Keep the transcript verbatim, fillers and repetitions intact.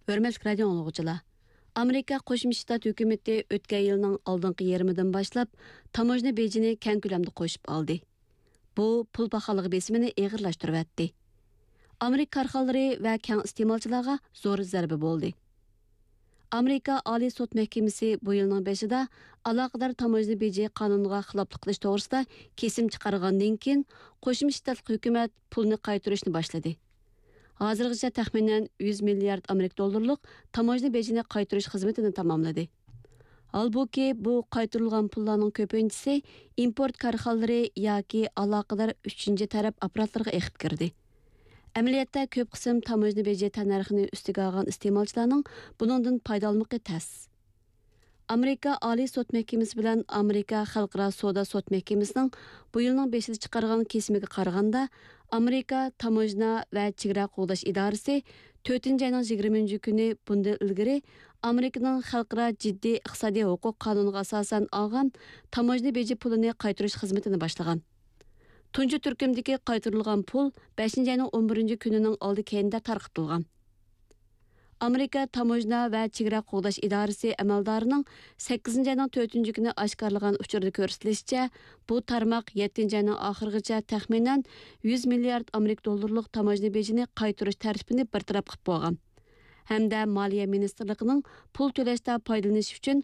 ھۆرمەتلىك رادىئو ئاڭلىغۇچىلار! ئامېرىكا قوشما شتات ھۆكۈمىتى ئۆتكەن يىلنىڭ ئالدىنقى يېرىمىدىن باشلاپ تاموژنا بېجىنى كەڭ كۆلەمدە قوشۇپ ئالدى. بۇ پۇل پاخاللىقى بېسىمىنى ئېغىرلاشتۇرۇۋەتتى. ئامېرىكا كارخانىلىرى ۋە كەڭ ئىستېمالچىلارغا زور زەربە بولدى. ئامېرىكا ئالىي سوت مەھكىمىسى بۇ يىلنىڭ بېشىدا ئالاقىدار تاموژنا بېجى قانۇنىغا خىلاپلىق قىلىش توغرىسىدا كېسىم چىقارغاندىن كېيىن، قوشما شتاتلىق ھۆكۈمەت پۇلنى قايتۇرۇشنى باشلىدى. ھازىرغىچە تەخمىنەن يۈز مىليارد ئامېرىكا دوللىرىلىق تاموژنا بېجىنى قايتۇرۇش خىزمىتىنى تاماملىدى. ھالبۇكى، بۇ قايتۇرۇلغان پۇللارنىڭ كۆپىنچىسى ئىمپورت كارخانىلىرى ياكى ئالاقىدار ئۈچىنچى تەرەپ ئاپپاراتلىرىغا ئېقىپ كىردى. ئەمەلىيەتتە، كۆپ قىسىم تاموژنا بېجى تەننەرخىنى ئۈستىگە ئالغان ئىستېمالچىلارنىڭ بۇنىڭدىن پايدىلانمىقى تەس. ئامېرىكا ئالىي سوت مەھكىمىسى بىلەن ئامېرىكا خەلقئارا سودا سوت مەھكىمىسىنىڭ بۇ يىلنىڭ بېشىدا چىقارغان كېسىمىگە قارىغاندا، ئامېرىكا تاموژنا ۋە چېگرا قوغداش ئىدارىسى تۆتىنچى ئاينىڭ يىگىرمىنچى كۈنى بۇندىن ئىلگىرى ئامېرىكىنىڭ خەلقئارا جىددىي ئىقتىسادىي ھوقۇق قانۇنىغا ئاساسەن ئالغان تاموژنا بېجى پۇلىنى قايتۇرۇش خىزمىتىنى باشلىغان. تۇنجى تۈركۈمدىكى قايتۇرۇلغان پۇل بەشىنچى ئاينىڭ ئون بىرىنچى كۈنىنىڭ ئالدى كەينىدە تارقىتىلغان. ئامېرىكا تاموژنا ۋە چېگرا قوغداش ئىدارىسى ئەمەلدارىنىڭ سەككىزىنچى ئاينىڭ تۆتىنچى كۈنى ئاشكارىلىغان ئۇچۇردا كۆرسىتىلىشىچە، بۇ تارماق يەتتىنچى ئاينىڭ ئاخىرىغىچە تەخمىنەن يۈز مىليارد ئامېرىكا دوللىرىلىق تاموژنا بېجىنى قايتۇرۇش تەرتىپىنى بىر تەرەپ قىلىپ بولغان ھەمدە مالىيە مىنىستىرلىقىنىڭ پۇل تۆلەشتە پايدىلىنىش ئۈچۈن